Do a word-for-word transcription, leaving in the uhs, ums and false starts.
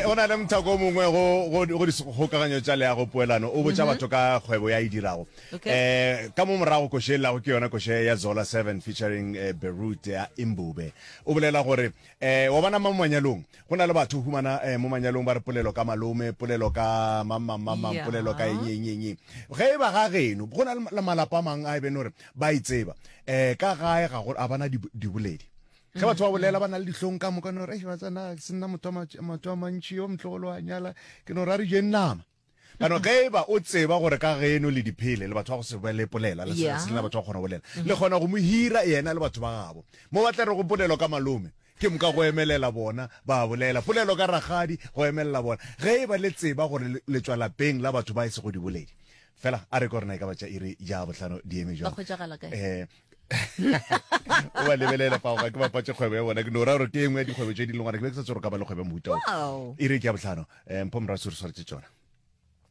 go na le mothako o mongwe go go go dikgokaganyo tša leago poelano o botša batho ka kgwebo ya e dirago. Okay. Eh ka mo morago koše e llago ke yona koše ya Zola seven featuring eh, Beirut ya Imbube. O bolela gore eh wa bona mo manyalong go na le batho o humana eh, mo manyalong ba re polelo ka malome, polelo ka mang mang mang mang, Yeah. polelo ka eng eng eng eng. Ge e ba ga geno go na le malapa a mang a e bene gore ba e tseba. Eh ka gae ga go a bana diboledi. Ge batho ba bolela ba na le dihlong ka moka no re ba tsena se nna motho wa matš- motho wa mantši yo motlogolo wa nyala ke no ra re jeng nama. Kano ge e ba o tseba gore ka geno le diphele le batho ba go se be le polela le se Yeah. se lena batho ba kgona go bolela le kgona go mo hira yena le batho ba gabo mo ba tla re go polelo ka malome ke moka go emelela bona ba bolela polelo ka rakgadi go emelela bona ge e ba le tseba gore le- le tšwa lapeng la batho ba e sego diboledi fela a re ko rena e ka ba tša iri ya bohlano di eme Ba jwang hwetšagala kae? eh o ba lebelela fa ga ke bapatše kgwebo ya bona ke no ra gore ke engwe ya dikgwebo tše di leng gore ke be ke sa tsore ka ba le kgwebo ya mohuta o Wow. iri ke ya bohlano um mpho morasi re swaretše tšona.